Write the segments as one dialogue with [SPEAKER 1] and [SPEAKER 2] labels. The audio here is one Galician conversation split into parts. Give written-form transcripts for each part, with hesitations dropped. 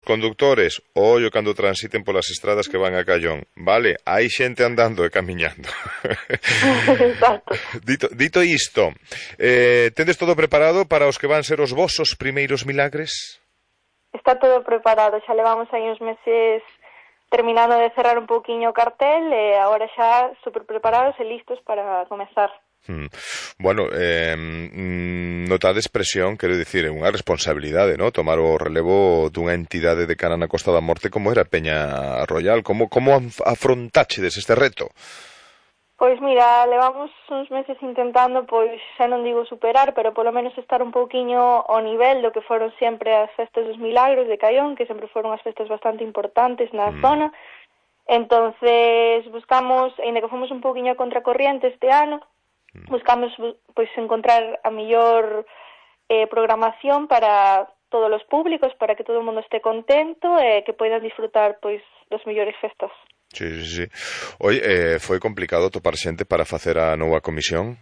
[SPEAKER 1] conductores, ollo cando transiten polas estradas que van a Callón, vale? Hai xente andando e camiñando.
[SPEAKER 2] Exacto.
[SPEAKER 1] Dito isto, tendes todo preparado para os que van ser os vosos primeiros milagres?
[SPEAKER 2] Está todo preparado, xa levamos aí uns meses terminando de cerrar un pouquiño o cartel e agora xa super preparados e listos para comezar.
[SPEAKER 1] Bueno, notades presión, quero dicir, é unha responsabilidade, ¿no? Tomar o relevo dunha entidade de cara na Costa da Morte como era Peña Royal. Como afrontáchedes este reto?
[SPEAKER 2] Pois mira, levamos uns meses intentando, pois xa non digo superar, pero polo menos estar un pouquiño ao nivel do que foron sempre as festas dos Milagros de Caión, que sempre foron as festas bastante importantes na zona. Entonces buscamos, aínda que fomos un pouquiño a contracorriente este ano, buscamos pois encontrar a mellor programación para todos os públicos, para que todo o mundo este contento e que poidan disfrutar pois das mellores festas.
[SPEAKER 1] Sí. Oi, foi complicado topar xente para facer a nova comisión?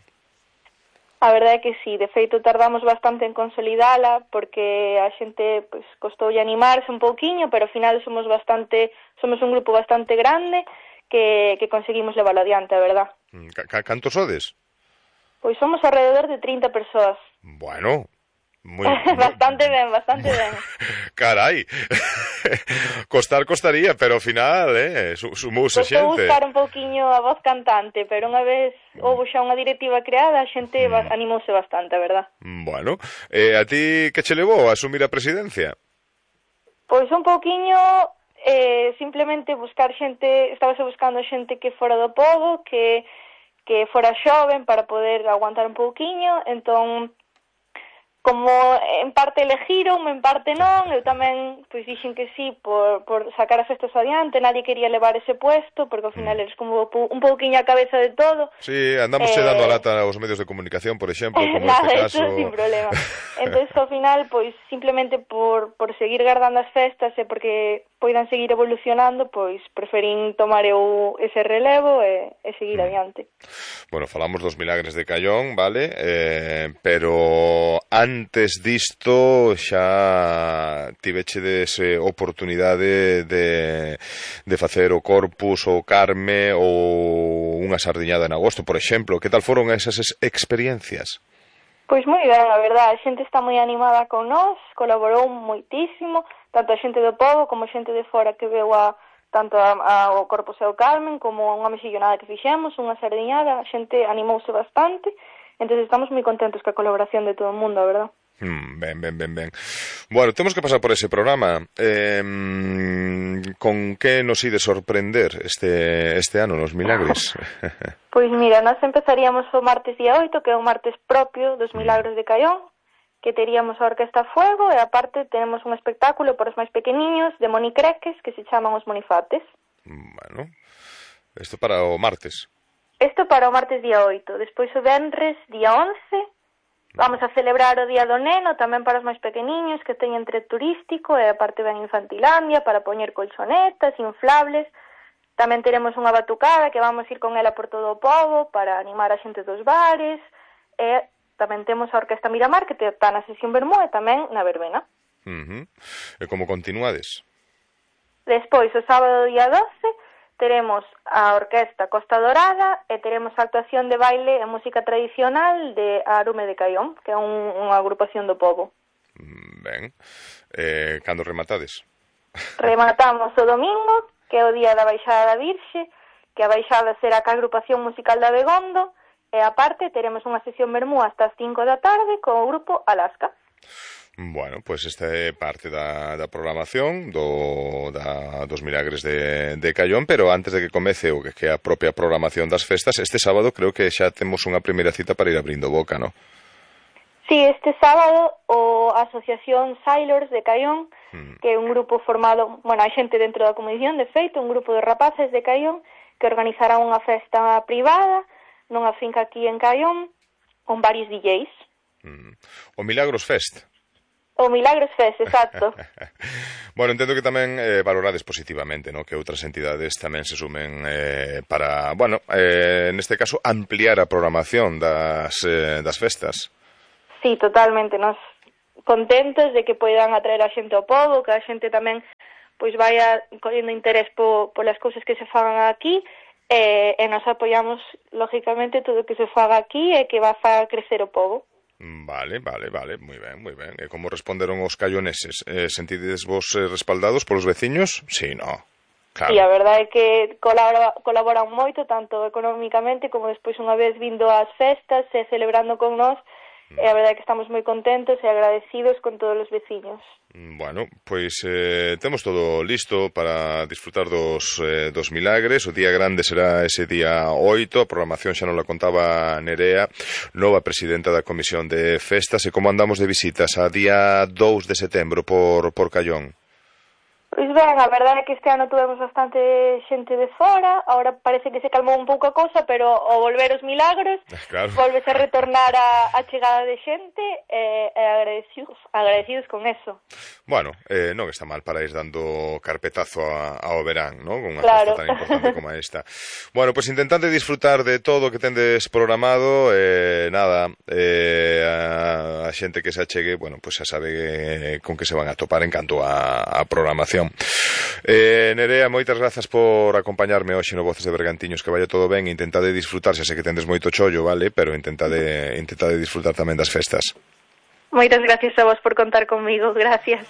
[SPEAKER 2] A verdade é que sí, de feito tardamos bastante en consolidala porque a xente pois costoulle animarse un pouquiño, pero ao final somos un grupo bastante grande que conseguimos leválo adiante, a verdad.
[SPEAKER 1] Cantos sodes?
[SPEAKER 2] Pois somos alrededor de 30 persoas.
[SPEAKER 1] Bueno,
[SPEAKER 2] bastante ben.
[SPEAKER 1] Carai. Costaría, pero ao final, sumouse xente.
[SPEAKER 2] Costou buscar un pouquiño a voz cantante, pero unha vez houve xa unha directiva creada, a xente animouse bastante, a verdad.
[SPEAKER 1] Bueno, a ti que che levou a asumir a presidencia?
[SPEAKER 2] Pois un pouquiño, simplemente buscar xente, estábase buscando xente que fora do pobo, que fora xoven para poder aguantar un pouquiño, entón como en parte elegiron, en parte non, eu tamén pois dixen que sí por sacar as festas adiante, nadie quería levar ese puesto, porque ao final eres como un pouquiño a cabeza de todo.
[SPEAKER 1] Sí, andamos dando a lata aos medios de comunicación, por exemplo, como
[SPEAKER 2] nada,
[SPEAKER 1] neste caso.
[SPEAKER 2] Eso sin problema. Entón, ao final, pois, simplemente por seguir guardando as festas e porque poidan seguir evolucionando, pois, preferín tomar eu ese relevo e seguir adiante.
[SPEAKER 1] Bueno, falamos dos Milagres de Callón, vale? Pero antes disto xa tivechedes oportunidade de facer o Corpus, o Carme ou unha sardiñada en agosto, por exemplo. Que tal foron esas experiencias?
[SPEAKER 2] Pois moi ben, a verdade, a xente está moi animada con nós, colaborou moitísimo, tanto a xente do pobo como a xente de fora que veu tanto ao Corpus e ao Carmen, como unha mexillonada que fixemos, unha sardiñada, a xente animouse bastante, entón estamos moi contentos ca colaboración de todo o mundo, a verdade.
[SPEAKER 1] Ben. Bueno, temos que pasar por ese programa. Con que nos ide sorprender este ano nos Milagres?
[SPEAKER 2] Pois mira, nós empezaríamos o martes día 8, que é un martes propio dos Milagros de Caión, que teríamos a Orquesta Fuego e aparte tenemos un espectáculo para os máis pequeniños de monicreques que se chaman os monifates.
[SPEAKER 1] Bueno, isto para o martes.
[SPEAKER 2] Isto para o martes día 8. Despois o venres día 11 vamos a celebrar o Día do Neno tamén para os máis pequeniños que teñen tren turístico e aparte ven Infantilandia para poñer colchonetas, inflables. Tamén teremos unha batucada que vamos ir con ela por todo o pobo para animar a xente dos bares e tamén temos a Orquesta Miramar que está na sesión Bermú e tamén na verbena.
[SPEAKER 1] E como continuades?
[SPEAKER 2] Despois, o sábado día 12 teremos a Orquesta Costa Dorada e teremos a actuación de baile e música tradicional de Arume de Caión, que é unha agrupación do pobo.
[SPEAKER 1] Ben. Cando rematades?
[SPEAKER 2] Rematamos o domingo, que é o día da Baixada da Virxe, que a Baixada será ca agrupación musical da Begondo, e aparte teremos unha sesión Bermú hasta as 5 da tarde co grupo Alaska.
[SPEAKER 1] Bueno, pois esta é parte da programación dos Milagres de Callón, pero antes de que comece o que é a propia programación das festas, este sábado creo que xa temos unha primeira cita para ir abrindo boca, non?
[SPEAKER 2] Sí, este sábado a Asociación Sailors de Caión, que é un grupo formado, hai xente dentro da comisión, de feito, un grupo de rapaces de Caión que organizará unha festa privada nunha finca aquí en Caión con varios DJs.
[SPEAKER 1] O Milagros Fest.
[SPEAKER 2] O Milagros Fest, exacto.
[SPEAKER 1] Bueno, entendo que tamén valorades positivamente, ¿no? Que outras entidades tamén se sumen para, neste caso, ampliar a programación das festas.
[SPEAKER 2] Sí, totalmente. Nos contentos de que poidan atraer a xente ao pobo, que a xente tamén pois vaya collendo interés polas cousas que se fagan aquí, e nos apoiamos lógicamente todo o que se faga aquí e que va a crecer o pobo.
[SPEAKER 1] Vale, moi ben. E como responderon os caioneses? Sentides vos respaldados polos veciños? Sí, no. Claro.
[SPEAKER 2] E a verdade é que colaboran moito, tanto económicamente como despois unha vez vindo ás festas e celebrando con nós, e a verdade é que estamos moi contentos e agradecidos con todos os veciños.
[SPEAKER 1] Bueno, pois temos todo listo para disfrutar dos milagres. O día grande será ese día 8, a programación xa non la contaba Nerea, nova presidenta da Comisión de Festas. E como andamos de visitas a día 2 de setembro por Callón?
[SPEAKER 2] Pois ben, a verdade é que este ano tuvemos bastante xente de fora, agora parece que se calmou un pouco a cousa, pero ao volver os milagros,
[SPEAKER 1] claro,
[SPEAKER 2] volves a retornar a chegada de xente e agradecidos con eso.
[SPEAKER 1] Bueno, non está mal para ir dando carpetazo ao verán, non? Con unha
[SPEAKER 2] claro.
[SPEAKER 1] festa tan importante como esta. Bueno, pois intentade disfrutar de todo o que tendes programado, nada, a xente que se achegue, bueno, pois xa sabe con que se van a topar en canto a programación. Nerea, moitas grazas por acompañarme hoxe no Voces de Bergantiños, que vaya todo ben, intentade disfrutar, xa sei que tendes moito chollo, vale, pero intentade disfrutar tamén das festas.
[SPEAKER 2] Moitas gracias a vos por contar comigo, gracias.